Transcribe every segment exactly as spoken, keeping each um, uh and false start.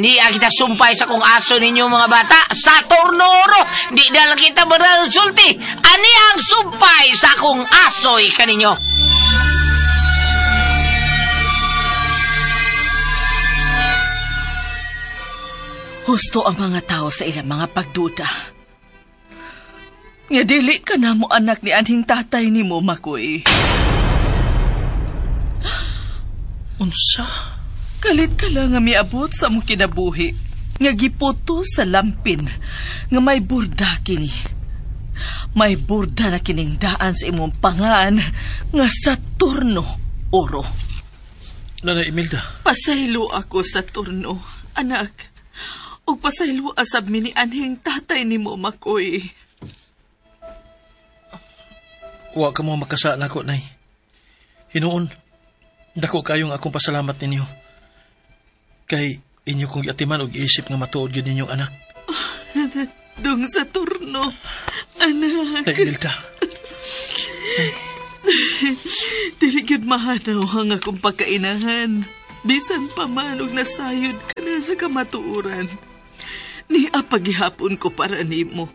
Ani ang kita sumpay sa kong aso ninyo mga bata. Saturno Oro. Di na lang kita sulti. Ani ang sumpay sa akong asoy kaninyo. Husto ang mga tao sa ilang mga pagduda. Nga dili ka na mo anak ni anhing tatay ni mo, Makoy. Unsa? Kalit ka lang nga miabot sa mong kinabuhi. Nga giputo sa lampin. Nga may burda kini. May burda na kining daan sa imong pangan nga Saturno Oro. Nanay Imelda. Pasaylo ako, Saturno, anak. Ug pasaylo asab mi ni anhing tatay ni mo, Makoy. Wa ka mo makasala nako, Nay. Hinuon, dako kayong akong pasalamat ninyo. Kay inyo kong giatiman og giisip nga matuod gyud ninyong anak. Dong Saturno, anak. Nay Imelda. Dili gyud mahanaw ang akong pagkainahan. Bisan pa man og nasayod ka na sa kamatuoran. Niya pagihapon ko para nimo.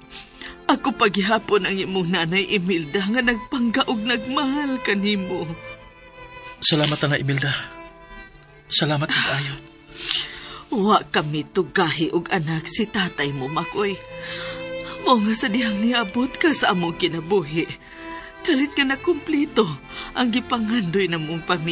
Ako paghihapon ang imong nanay Imelda nga nagpangga og nagmahal kanimo. Salamat na, Imelda. Salamat kaayo. Wa kami tugahi og anak si tatay mo, Makoy. Mo nga sa dihang niabot ka sa among kinabuhi. Kalit ka na kumplito ang gipangandoy na mong pamilya.